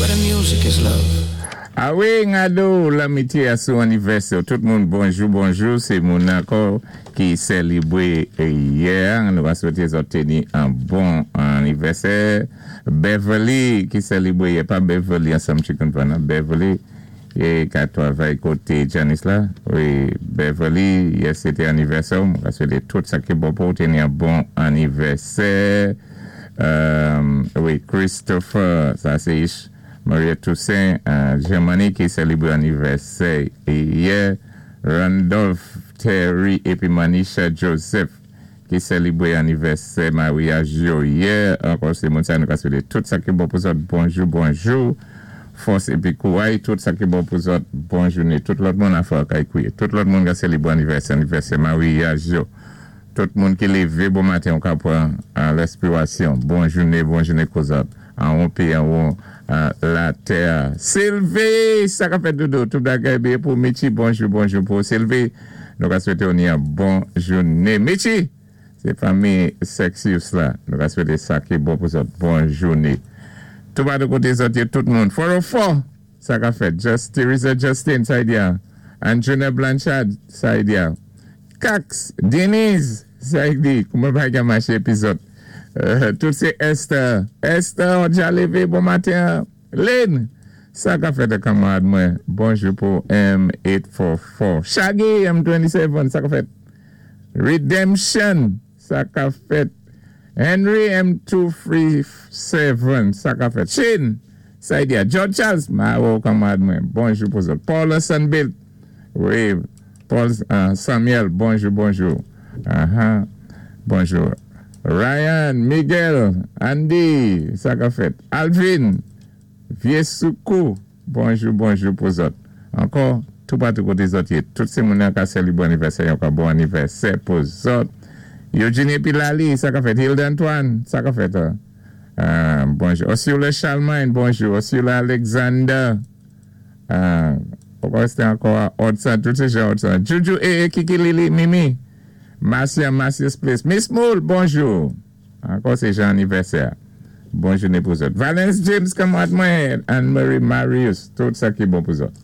Where the music is love. Awi, ngado lamitye asou anivèsè. Tout moun, bonjou, bonjou. Sé moun ankò ki sélibwé yè. Nou va swété zòt téni an bon anivèsè. Beverly ki sélibwé yè, pa Beverly ansanm Chicken Van, Beverly é ka twavay koté Janice la. Wi, Beverly, yè sé té anivèsè. Nou va swété tout sa ki bon pou téni an bon anivèsè. Wi, Christopher, sa sé Maria Toussaint, Germany ki sélibwé anivèsè yè. Randolph Terry épi Manisha Joseph ki sélibwé anivèsè maryaj yo yè. Ankò sé moun sa nou ka swété tout sa ki bon pou zòt. Bonjou, bonjou. Fòs épi kouray, tout sa ki bon pou zòt. Bon jouné. Tout lòt moun afè kay kouye. Tout lòt moun ka sélibwé anivèsè, anivèsè maryaj yo. Tout moun ki lévé bon maten ou ka pran lèspirasyon. Bon jouné, bon jouné kou zòt. An won péyi, an won latè. Sylvie, sa ka fèt doudou. Tout bagay byen pou Michi. Bonjou, bonjou pou Sylvie. Nou ka swété ou ni an bon jouné. Michi, sé fanmi Sexius la. Nou ka swété sa ki bon pou zòt. Bon jouné. Tout patou koté zòt yo, tout moun. 404, sa ka fèt. Just Teresa Justin, sa y di. Anjuna Blanchard, sa y di. Cax, Denise, sa y di. Kouman bagay maché épizòd. Tout sé Esther. Esther, on dja lévé bon maten. Lynn, sa ka fèt kanmarad mwen. Bonjou pou M844. Shaggy, M27, sa ka fèt. Redemption, sa ka fèt. Henry M237, sa ka fèt. Shane, sa y di. George Charles, ma kanmarad mwen. Bonjou pou zòt. Paul Sunbill. Wi, Paul Samuel, bonjou, bonjou. Bonjou. Ryan, Miguel, Andy, sa ka fèt. Alvin, Viesoukou, bonjou, bonjou pou zòt. Ankò, tout patou koté zòt yé. Tout sé moun ka sélibwé anivèsè, yon ka bon anivèsè pou zòt. Eugenie épi Lali, sa ka fèt. Hilda Antoine, sa ka fèt. Bonjou. Osula Charlemagne, bonjou. Osula Alexander. Ankò, sé ankò Odson, tout sé jan Odson. Juju, eh, Kiki, Lili, Mimi. Marcia, Marcia's Place. Miss Moule, bonjou. Ankò sé jan anivèsè. Bon jouné pou zòt. Valence James, kanmarad mwen. Anne-Marie Marius, tout sa ki bon pou zòt.